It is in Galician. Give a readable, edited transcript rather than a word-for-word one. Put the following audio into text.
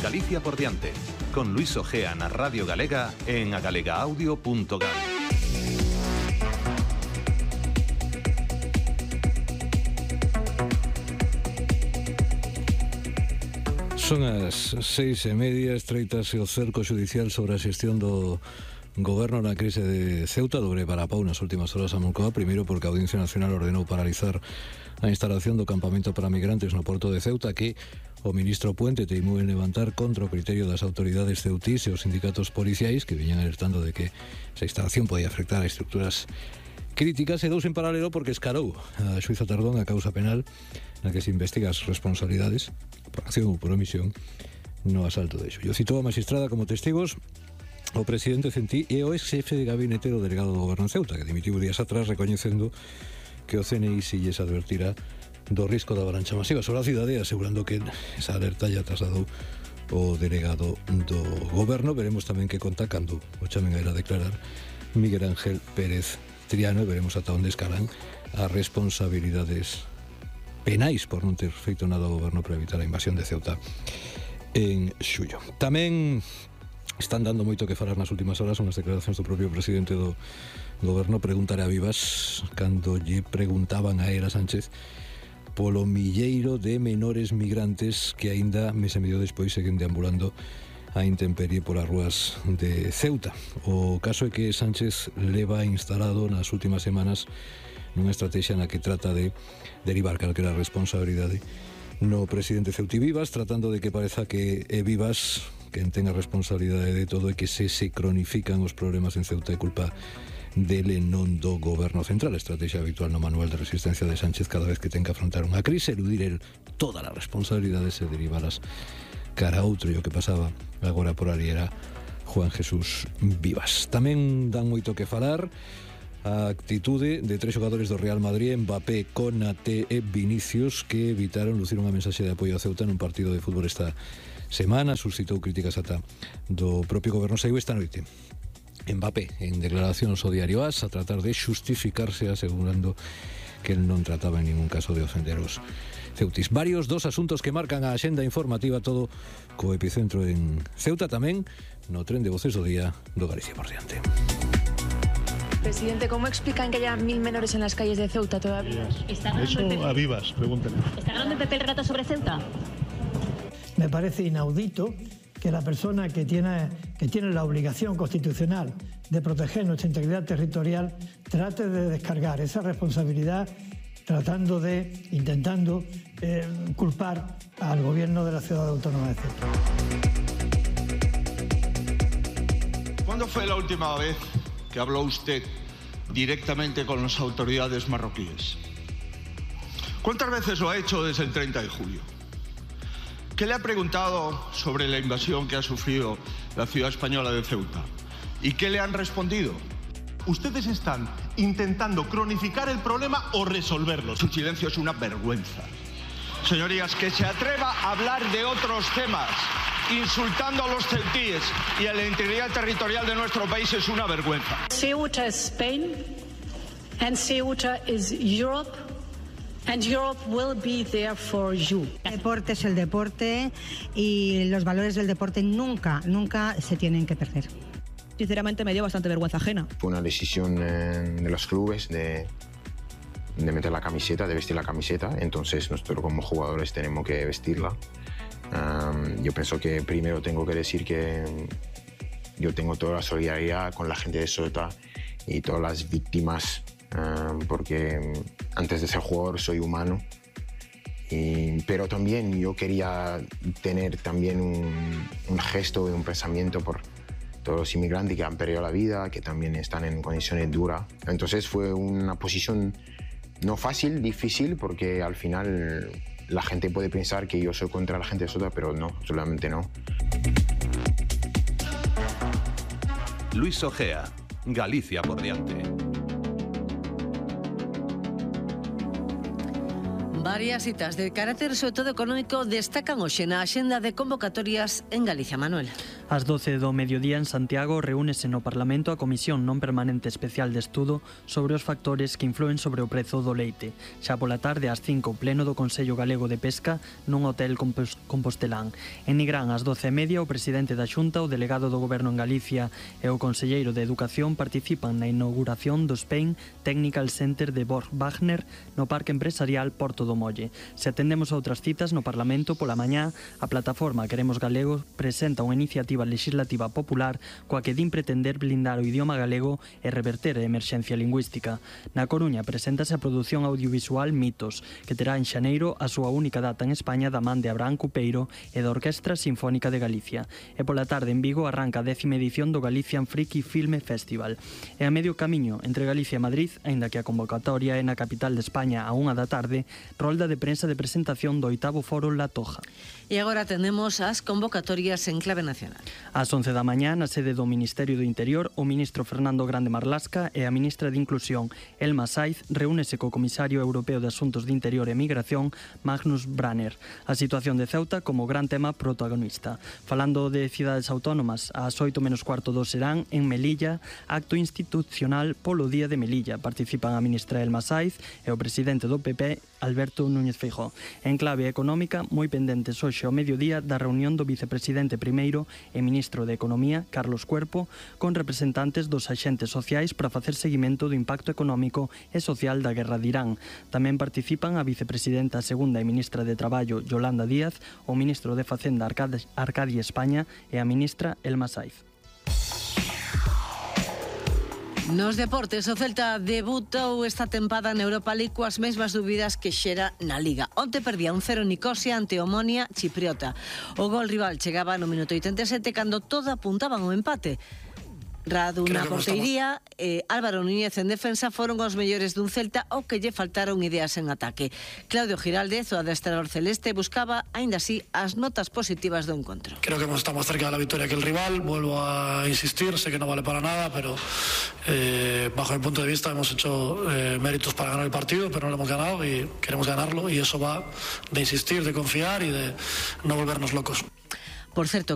Galicia por diante, con Luis Ojea na Radio Galega en agalegaaudio.gal. Son as 6:30, estreitase o cerco xudicial sobre a xestión do Goberno na crise de Ceuta. Dobre parapau nas últimas horas a Moncloa, primeiro porque a Audiencia Nacional ordenou paralizar a instalación do campamento para migrantes no porto de Ceuta, que o ministro Puente teimou en levantar contra o criterio das autoridades ceutís e os sindicatos policiais, que viñan alertando de que esa instalación podía afectar a estructuras críticas, e dous en paralelo porque escarou a xuíza Tardón a causa penal na que se investiga as responsabilidades por acción ou por omisión no asalto de Xullo. Citou a magistrada como testigos o presidente Centí e o ex-xefe de gabinete do delegado do Goberno en Ceuta, que dimitiu días atrás recoñecendo que o CNI si lles advertira do risco da avalancha masiva sobre a cidade, asegurando que esa alerta ya trasladou o delegado do Goberno. Veremos tamén que conta cando o chamen a ir a declarar Miguel Ángel Pérez Triano, e veremos ata onde escalan as responsabilidades penais por non ter feito nada ao Goberno para evitar a invasión de Ceuta en Xullo. Tamén están dando moito que falar nas últimas horas unhas declaracións do propio presidente do Goberno. Preguntaré a Vivas cando lle preguntaban a Era Sánchez polo milleiro de menores migrantes que aínda mes e medio despois seguen deambulando a intemperie polas rúas de Ceuta. O caso é que Sánchez leva instalado nas últimas semanas nunha estrategia na que trata de derivar calquera responsabilidade no presidente Ceuti Vivas, tratando de que pareza que é Vivas quen ten a responsabilidade de todo e que se cronifican os problemas en Ceuta é culpa dele, non do Goberno Central. A estrategia habitual no manual de resistencia de Sánchez cada vez que ten que afrontar unha crise, eludir el todas as responsabilidades e derivalas cara a outro. E o que pasaba agora por ali era Juan Jesús Vivas. Tamén dan moito que falar a actitude de tres xogadores do Real Madrid, Mbappé, Konaté e Vinicius, que evitaron lucir unha mensaxe de apoio a Ceuta nun partido de fútbol esta semana. Suscitou críticas ata do propio Goberno. Saiu esta noite Mbappé en declaracións ao diario AS a tratar de xustificarse, asegurando que el non trataba en ningún caso de ofender os ceutis. Varios dos asuntos que marcan a axenda informativa, todo co epicentro en Ceuta, tamén no tren de voces do día do Galicia por diante. Presidente, ¿cómo explican que haya 1000 menores en las calles de Ceuta todavía? Eso a Vivas, pregúntale. ¿Está ganando el PP el relato sobre Ceuta? Me parece inaudito que la persona que tiene la obligación constitucional de proteger nuestra integridad territorial trate de descargar esa responsabilidad intentando culpar al gobierno de la ciudad autónoma de Ceuta. ¿Cuándo fue la última vez que habló usted directamente con las autoridades marroquíes? ¿Cuántas veces lo ha hecho desde el 30 de julio? ¿Qué le ha preguntado sobre la invasión que ha sufrido la ciudad española de Ceuta? ¿Y qué le han respondido? Ustedes están intentando cronificar el problema o resolverlo. Su silencio es una vergüenza. Señorías, que se atreva a hablar de otros temas insultando a los ceutíes y a la integridad territorial de nuestro país es una vergüenza. Ceuta is Spain and Ceuta is Europe and Europe will be there for you. El deporte es el deporte y los valores del deporte nunca se tienen que perder. Sinceramente me dio bastante vergüenza ajena. Fue una decisión de los clubes de meter la camiseta, de vestir la camiseta, entonces nosotros como jugadores tenemos que vestirla. Yo pienso que primero tengo que decir que yo tengo toda la solidaridad con la gente de Ceuta y todas las víctimas, porque antes de ser jugador soy humano, pero también yo quería tener también un gesto y un pensamiento por todos los inmigrantes que han perdido la vida, que también están en condiciones duras. Entonces fue una posición no fácil, difícil, porque al final la gente puede pensar que yo soy contra la gente de Ceuta, pero no, absolutamente no. Luis Ojea, Galicia por diante. Varias citas de carácter sobre todo económico destacan hoxe na axenda de convocatorias en Galicia, Manuel. Ás 12 do mediodía en Santiago reúnese no Parlamento a Comisión Non Permanente Especial de Estudo sobre os factores que influen sobre o prezo do leite. Xa pola tarde ás 5 o pleno do Consello Galego de Pesca nun hotel compostelán. En Nigrán ás 12:30 o presidente da Xunta, o delegado do Goberno en Galicia e o conselleiro de Educación participan na inauguración do Spain Technical Center de Borg Wagner no Parque Empresarial Porto do Molle. Se atendemos a outras citas no Parlamento pola mañá, a plataforma Queremos Galego presenta unha iniciativa legislativa popular coa que din pretender blindar o idioma galego e reverter a emerxencia lingüística. Na Coruña preséntase a produción audiovisual Mitos, que terá en xaneiro a súa única data en España da man de Abraham Cupeiro e da Orquestra Sinfónica de Galicia. E pola tarde en Vigo arranca a 10ª edición do Galician Friki Filme Festival. E a medio camiño entre Galicia e Madrid, aínda que a convocatoria é na capital de España a 1 da tarde, rolda de prensa de presentación do 8º Foro La Toja. E agora tendemos as convocatorias en clave nacional. Ás 11 da mañá, na sede do Ministerio do Interior, o ministro Fernando Grande Marlasca e a ministra de Inclusión, Elma Saiz, reúnese co comisario europeo de Asuntos de Interior e Migración, Magnus Branner. A situación de Ceuta como gran tema protagonista. Falando de cidades autónomas, ás 8:15 serán en Melilla, acto institucional polo Día de Melilla. Participan a ministra Elma Saiz e o presidente do PP, Alberto Núñez Feijóo. En clave económica, moi pendentes hoxe ao mediodía da reunión do vicepresidente primeiro e ministro de Economía, Carlos Cuerpo, con representantes dos axentes sociais para facer seguimento do impacto económico e social da guerra de Irán. Tamén participan a vicepresidenta segunda e ministra de Traballo, Yolanda Díaz, o ministro de Facenda, Arcadia España, e a ministra Elma Saiz. Nos deportes, o Celta debutou esta tempada na Europa League coas mesmas dúbidas que xera na Liga. Onte perdía 1-0 Nicosia ante Omonia Chipriota. O gol rival chegaba no minuto 87 cando todo apuntaban ao empate. Radu na portería, Álvaro Núñez en defensa foron os mellores dun Celta o que lle faltaron ideas en ataque. Claudio Giraldez, o adestrador celeste, buscaba, aínda así, as notas positivas do encontro. Creo que estamos cerca de la victoria que el rival, vuelvo a insistir, sé que no vale para nada, pero bajo mi punto de vista hemos hecho méritos para ganar el partido, pero no lo hemos ganado y queremos ganarlo, y eso va de insistir, de confiar y de no volvernos locos. Por certo,